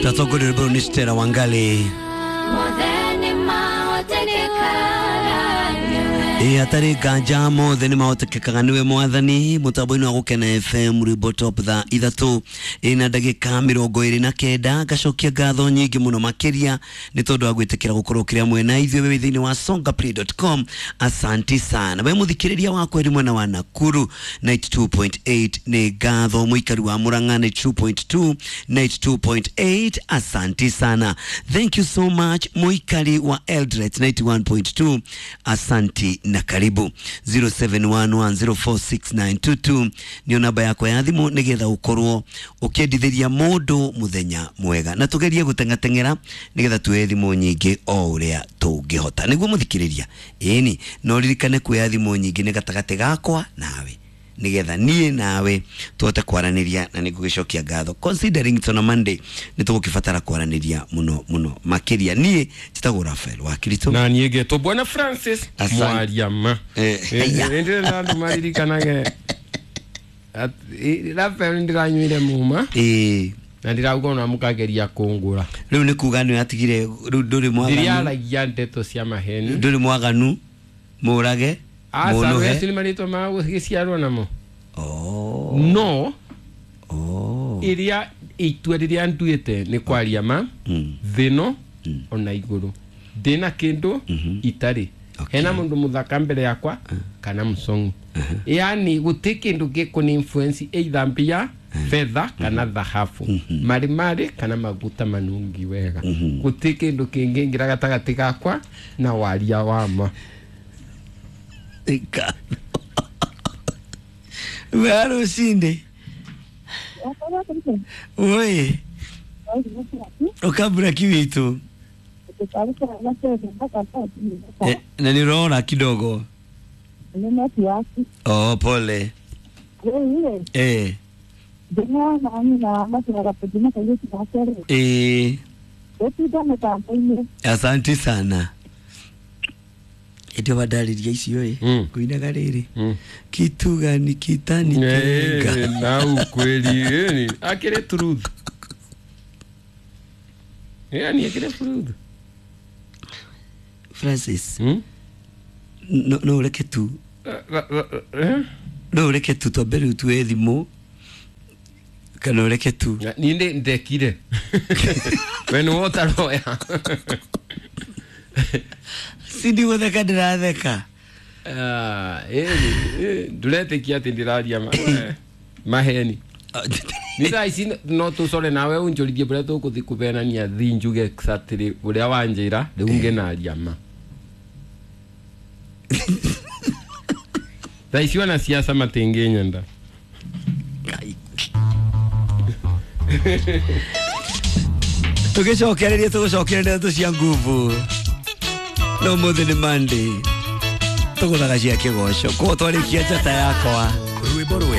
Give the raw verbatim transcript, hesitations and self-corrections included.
Tatongoria rwĩmbo nĩ Stella Wangali. Ĩ hatarĩ nganja mothe nĩ mahotekekaga nĩwe mwathani. Mũtambo-inĩ wa Gũkena F M rwĩmbo top thaa ithatũ ĩna ndagĩka mĩrongo ĩrĩ na kenda. Ngacokia ngatho nyingĩ mũno makĩria nĩ tondũ wa gwĩtĩkĩra gũkorwo ũkĩrĩ hamwe na ithuĩ wĩ thĩinĩ wa songa play dot com. Asanti sana we mũthikĩrĩria wakwa ĩrĩ mwena wa Nakuru ninety two point eight, nĩ ngatho. Mũikari wa Murang'a ninety two point two, ninety two point eight, asanti sana, thank you so much. Mũikari wa Eldoret ninety one point two, asanti na karibu. zero seven one one zero four six nine two two nĩyo namba yakwa ya thimũ nĩgetha ũkorwo ũkĩendithĩria mũndũ mũthenya mwega, na tũgerie gũteng'ateng'era nĩgetha tuoye thimũ nyingĩ o ũrĩa tũngĩhota nĩguo mũthikĩrĩria. Ĩni no ririkane kuoya thimũ nyingĩ nĩ gatagatĩ gakwa nawe nĩgetha niĩ nawe tũhote kwaranĩria, na nĩngũgĩcokia ngatho considering it's on a Monday nĩ tũgũkĩbatara kwaranĩria mũno mũno makĩria. Niĩ njĩtagwo Raphael wa Kirito na niĩ ngetwo Bwana Francis Mwariama. Eh, aya. Ndĩrenda andũ maririkanage at- Raphael ndĩranyuire muma Ĩĩ. na ndĩrauga ona mũkageria kũngũra. Rĩu nĩ kuga nĩ atigire rĩu ndũrĩ mwaganu. Ndĩrĩaragia ndeto cia maheni. Ndũrĩ mwaganu mũrage Aca mũnũhe. acio nĩ marĩtwa ma gũgĩciarwo namo. Oh. No Oh. ĩrĩa itua rĩrĩa nduĩte nĩ kwaria ma Mm. thĩno ona igũrũ ndĩna kĩndũ itarĩ. Okay. Hena mũndũ mũthaka mbere yakwa kana mũcong'i, yani gũtirĩ kĩndũ gĩkũni influence either mbia, fedha kana thahabu, marĩ marĩ kana maguta manungi wega. Gũtirĩ kĩndũ kĩngĩingĩra gatagatĩ gakwa na waria wa ma. Ika. Wea rũcinĩ. Oi. Ũkambura kiwitũ. Eh, na nĩ ũrona kidogo. Oh, pole. Eh. Eh. Asante sana. Ĩndĩ wandarĩria icio ĩ Mm. ngũinaga rĩrĩ Mm. kitu gani kitanitenga. Eh, na ukweli eh, akĩrĩ truth, yani akĩrĩ truth. Francis, Hmm? no no ũreke tu Eh? no ũreke tu twambe rĩu tuoye thimũ kana ũreke tu. Niĩ ndĩ- ndekire we nĩwe ũtaroya. Sindi gũtheka ndĩratheka. Ah, ĩni, ĩ, ndũretĩkia atĩ ndĩraria ma- eh, maheni. Nĩ thaa ici no tũcore nawe ũnjũrithie ũrĩa tũkũthi kũbenania thi njuge exactly ũrĩa wanjĩra rĩu ngĩnaria ma. Thaa ici ona siasa matingĩnyenda. Ngai. Tũgĩcokereria tũgũcokereria ndeto cia nguvu no mũthĩ nĩ Monday tũgũthaga cia kĩgoco koguo twarĩkia njata yakwa. Rwĩmbo rwega.